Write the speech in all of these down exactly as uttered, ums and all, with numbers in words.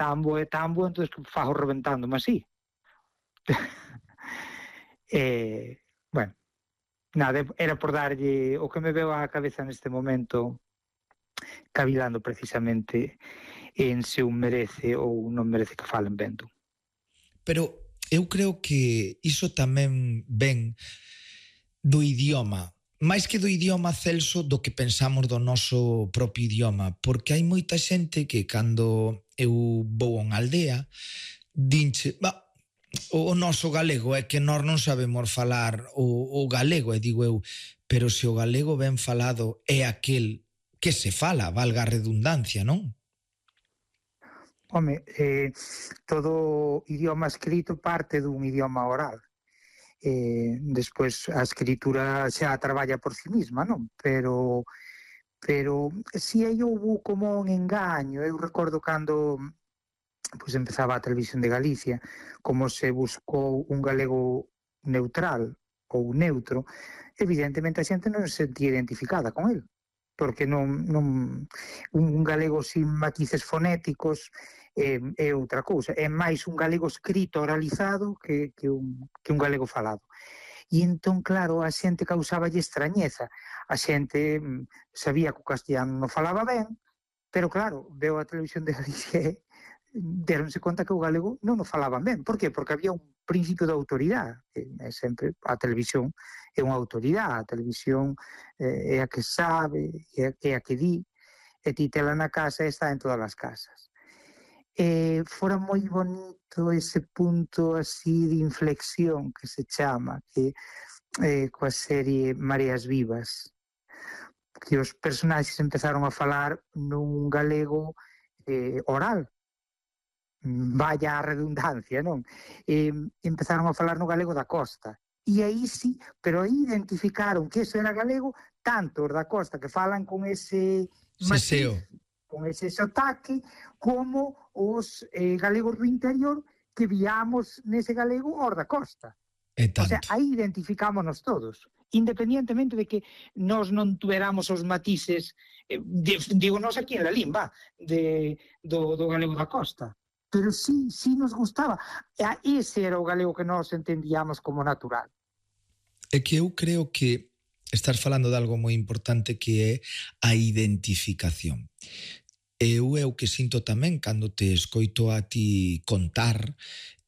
tan bo e tan bo, entón que fago reventándome así. eh, bueno, nada, era por darlle o que me veo á cabeza neste momento, cavilando precisamente en se un merece ou non merece que falen vendo. Pero eu creo que iso tamén ven do idioma, máis que do idioma, Celso, do que pensamos do noso propio idioma, porque hai moita xente que cando eu vou a unha aldea dinche, bah, o noso galego é que nós non sabemos falar o, o galego, e digo eu, pero se o galego ben falado é aquel que se fala, valga a redundancia, non? Home, eh, todo idioma escrito parte dun idioma oral. Eh, despois a escritura xa traballa por si misma, non? Pero pero si aí houve como un engaño. Eu recordo cando pois empezaba a Televisión de Galicia, como se buscou un galego neutral ou neutro, evidentemente a xente non se sentía identificada con el, porque non, non un galego sin matices fonéticos é, é outra cousa, é máis un galego escrito oralizado que, que, un, que un galego falado. E entón, claro, a xente causáballe extrañeza, a xente sabía que o castellano non falaba ben, pero claro, veo a Televisión de Galicia e deronse conta que o galego non o falaban ben. Por qué? Porque había un principio de autoridade. É sempre a televisión é unha autoridade, a televisión é a que sabe, é a que di, e ti tela na casa e está en todas as casas. E fora moi bonito ese punto así de inflexión que se chama, que eh, coa serie Mareas Vivas, que os personaxes empezaron a falar nun galego eh, oral, vaya a redundancia, non? E empezaron a falar no galego da costa. E aí sí, pero aí identificaron que eso era galego, tanto os da costa que falan con ese matiz, con ese sotaque, como os eh, galegos do interior que viamos nese galego os da costa. O sea, aí identificámonos todos, independientemente de que nós non tuveramos os matices, eh, de, digo nós aquí en la limba, de, do, do galego da costa. Pero sí, sí nos gustaba. Ese era o galego que nós entendíamos como natural. É que eu creo que estás falando de algo moi importante, que é a identificación. Eu é o que sinto tamén cando te escoito a ti contar,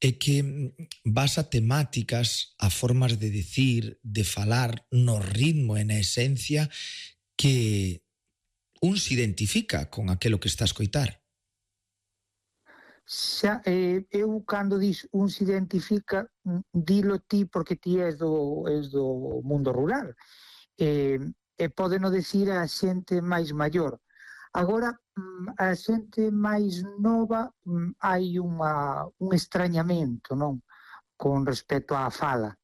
é que vas a temáticas, a formas de decir, de falar, no ritmo e na esencia, que un se identifica con aquilo que está a escoitar. Xa, eh, eu cando dis un se identifica, dilo ti porque ti és do, és do mundo rural, eh, e pode non decir a xente máis maior. Agora, a xente máis nova, hai unha, un extrañamento, non? Con respecto á fala.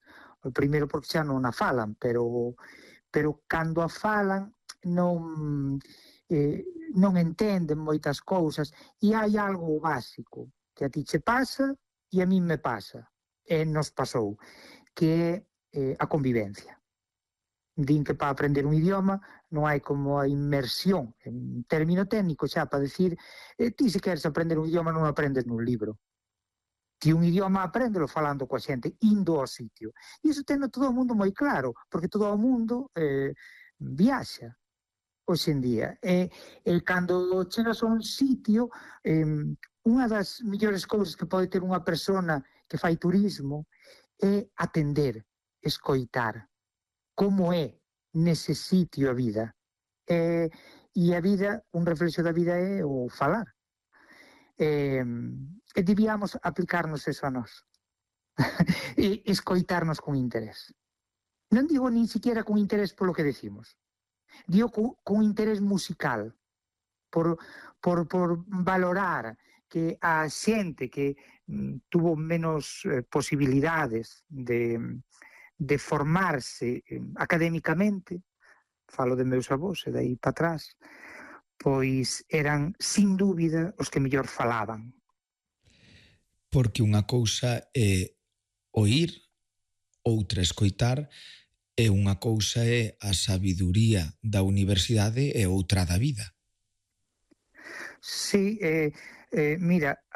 O primeiro porque xa non a falan, pero, pero cando a falan non... Eh, non entenden moitas cousas, e hai algo básico que a ti che pasa e a mí me pasa, e nos pasou, que é eh, a convivencia. Din que para aprender un idioma non hai como a inmersión, en término técnico xa, para decir, eh, ti se queres aprender un idioma non aprendes nun libro. Ti un idioma apréndelo falando coa xente, indo ao sitio. E iso teno todo o mundo moi claro, porque todo o mundo eh, viaxa hoxe en día. E, e cando chegas a un sitio, eh, unha das mellores cousas que pode ter unha persona que fai turismo é atender, escoitar como é nese sitio a vida. E, e a vida, un reflexo da vida é o falar. E, e debíamos aplicarnos eso a nós. E escoitarnos con interés. Non digo nin siquiera con interés polo que decimos. Digo con, con interés musical, por, por, por valorar que a xente que mm, tuvo menos eh, posibilidades de, de formarse eh, académicamente, falo de meus avós e dai para atrás, pois eran, sin dúbida, os que mellor falaban. Porque unha cousa é oír, outra escoitar, e unha cousa é a sabiduría da universidade e outra da vida. Sí, eh, eh, mira,